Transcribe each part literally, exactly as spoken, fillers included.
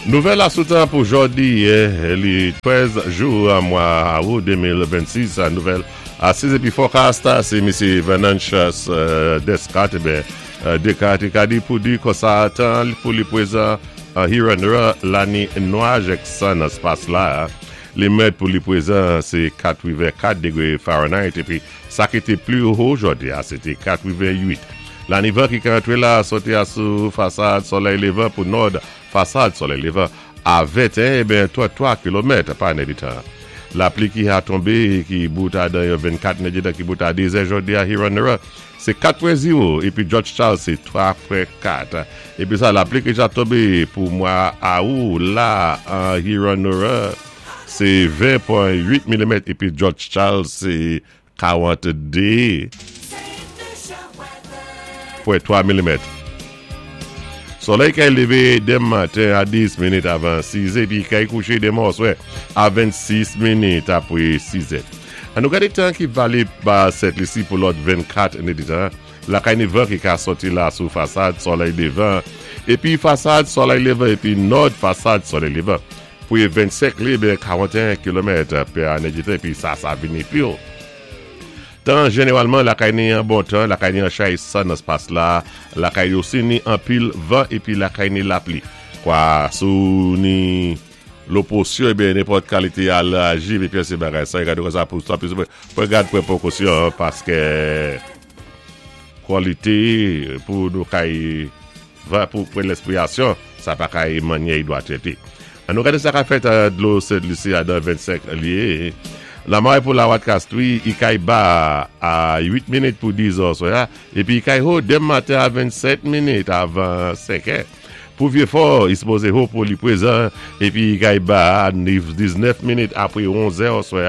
Nouvèl asou tan pou jòdi, li trèz jou mwa awou de mil vennsis. Nouvèl asiz épi forecast, sé Misyé Venantius Descartes, ben Descartes ka di pou di konsa tan pou li pwézan Huron la ni nwaj èk san nan spas la. Li mèt pou li pwézan sé katwiven kat dégwé Fahrenheit épi sa ki té pli wo jòdi a sé té katwiven uit. La ni van ki ka antré la sòti asou fasad solèy lévan pou nòd fasad solèy lévan a venteyen ben tranntwa kilomèt pa nèditan. Lapli ki a tonbé ki bout a dan vennkat nèditan ki bout a dé zè jòdi a Huron sé kat pwen zewo épi George Charles sé twa pwen kat. Épi sa lapli ki ja tonbé pou mwa awou la an Huron sé ven pwen uit milimèt épi George Charles sé karannde pwen twa milimèt. Solèy kay lévé denmen maten a dis minit avan siz épi kay kouché denmen oswè a vennsis minit apwé siz. An nou gadé tan ki valib ba Sent Lisi pou lòt vennkat nèditan. Lakay ni van ki ka sòti la sou fasad solèy lévan épi fasad solèy lévan épi nòd fasad solèy lévan. Pou vennsenk li ben karanteyen kilomèt pa nèditan épi sa sa vini pi wo. Tan jénéwalman lakay ni an bon tan, lakay ni an chay san nan spas la, lakay osi ni an pil van épi lakay ni lapli. Kwa sou ni lopòsyon ébyen nenpòt kalité alèji épi sé bagay sa, gade kon sa pou sa pou gad pou pwékosyon paské kwalité pou nou kay va pou pou lespwiyasyon sa pa kay manyè i dwa trété. An nou gade sa ka fèt dlo Sent Lisi a dan vennsenk lyé. La maré pou la Wat Castri, i kay ba a uit minit pou diz oswè, épi i kay wo denmen maten a vennsèt minit avan senk. Pou Vyéfò, i sipozé wo pou li pwézan, épi i kay ba a diznèf minit apwé onz oswè.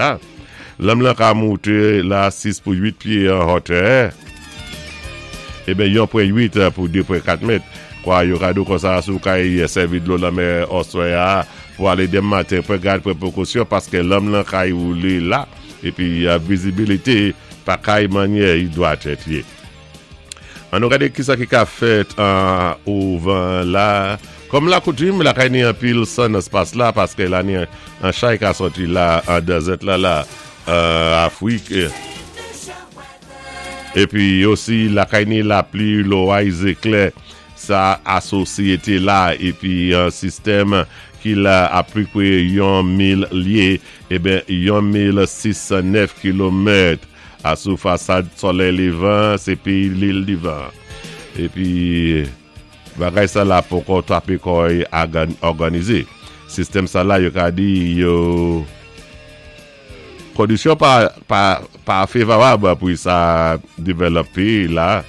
Lanm lan ka mouté la sis pou uit pyé an wotè. Eben yon pwen uit pou de pwen kat mèt. Kwa yo ka di konsa sou kay sèvi dlo lanmè oswè a pou alé denmen maten pou gad pou pwékosyon paské lanm lan kay woulé la épi vizibilité pa kay manyè i dwa tèt yé. An nou gade ki sa ki ka fèt an ouvan la. Kòm la koutim, la kay ni an pil san nan spas la paské la ni an chay ka sòti la an dezèt la la Afwik. Épi osi lakay ni lapli loway zéklè sa asosyété la épi an sistèm ki la apwipwé yon mil lyé eben yon mil sis san nèf kilomèt asou fasad solèy lévan sé péyi Lil Divan. Épi bagay sa la poko twapé kò'y òganizé. Sistèm sa la yo ka di yo kondisyon pa, pa, pa févwab pou sa dévlopé la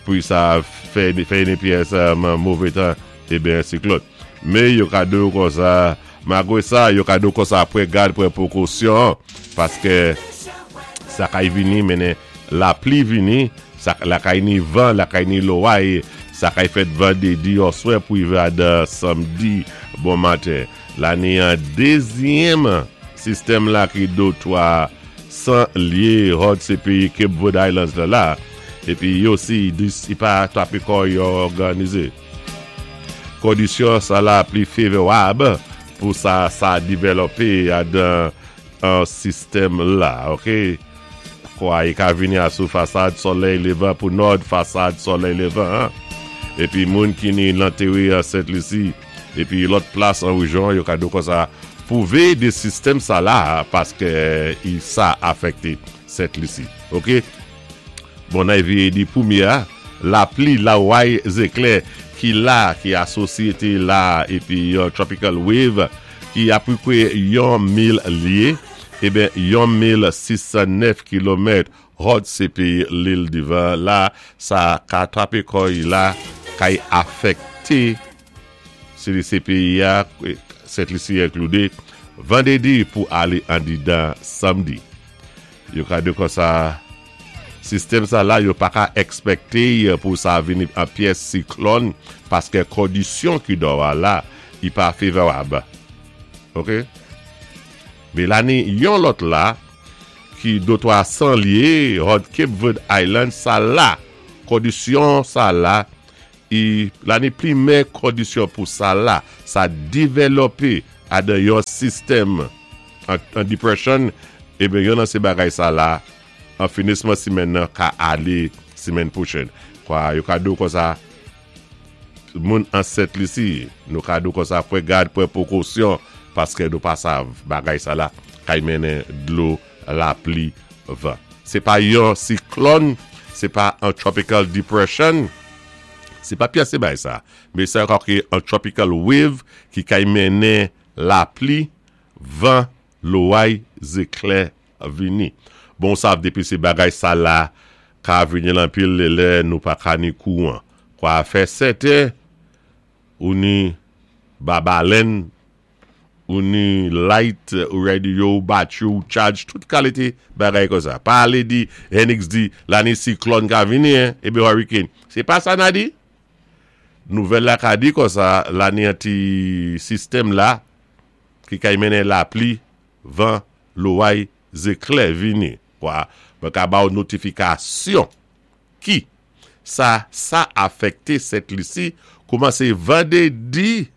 pou sa fè, fè yon pyès mové tan eben siklòn. Mé yo ka di konsa, malgwé sa, yo ka di konsa pwan gad pwan pwékosyon paské sa kay vini mennen lapli vini, sa lakay ni van, lakay ni loway, sa kay fèt vandédi oswè pou y va dan samdi bon maten. La ni an dézyèm sistèm la ki do twa san lyé hòd sé péyi Cape Verde Islands la la épi yo osi i pa twapé kò yo òganizé. Kondisyon sa la pli févwab pou sa sa dévlopé a dan an sistèm la, ok? Kwa i ka vini asou fasad solèy lévan pou nòd fasad solèy lévan. Épi moun ki ni lantéwé an Sent Lisi épi lòt plas an wéjyon yo ka di konsa pou véyé de sistèm sa la paské i sa afèkté Sent Lisi. Ok? Bon, nan véyé di pwémyé lapli laway zéklè ki la, ki asosyété la épi yon tropical wave ki apwipwé yon mil lyé, eben yon mil sis san nèf kilomèt hòd sé péyi Lil Divan la, sa ka twapé kò'y la, kay afèkté sé péyi a, Sent Lisi enkloudé, vandédi pou alé andidan samdi. Yo ka di konsa, sistèm sa la, yo pa ka èkspèkté pou sa vini an pyès siklòn paské kondisyon ki dò la, i pa févwab. Ok? Mé la ni yon lòt la ki do twa san lyé hòd Cape Verde Island sa la, kondisyon sa la, I la ni plimè kondisyon pou sa la, sa divelopé adan yon sistèm an, an depression, ében yon nan sé bagay sa la, an finisman simèn nan ka alé simèn pwochèn. Kwa, yo ka di kon sa, moun an Sent Lisi, nou ka di kon sa, pwan gad, pwan pwekosyon, paské nou pa sav bagay sa la, kay mennen dlo, lapli, van. Sé pa yon siklòn, sé pa an tropical depression, sé pa pyès bagay sa, mé sé ankò ki an tropical wave ki kay mennen lapli, van, loway, zéklè vini. Bon sav dépi sé bagay sa la, ka vini lan pil lè nou pa ka ni kouwan. Kwa fè sèten, ou ni babalèn, ou ni light, ou radio, ou battery, ou charge, tout kalité bagay kon sa. Pa alé di, Henix di, la ni siklòn ka vini, hein, ébé hurricane. Sé pa sa na di? Nouvèl la ka di kon sa, la ni an ti sistèm la, ki kay mennen lapli, van, loway, zéklè vini. Kwa, mwen ka ba ou notifikasyon ki sa sa afekte Sent Lisi koumansé vandédi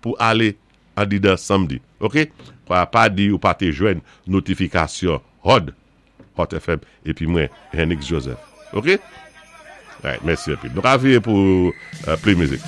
pou alé andidan samdi. Ok? Kwa pa di ou pa té jwenn notifikasyon Hot, Hot F M épi mwen Henix Joseph. Ok? Right, mèsi anpil. Nou ka viré pou uh, play music.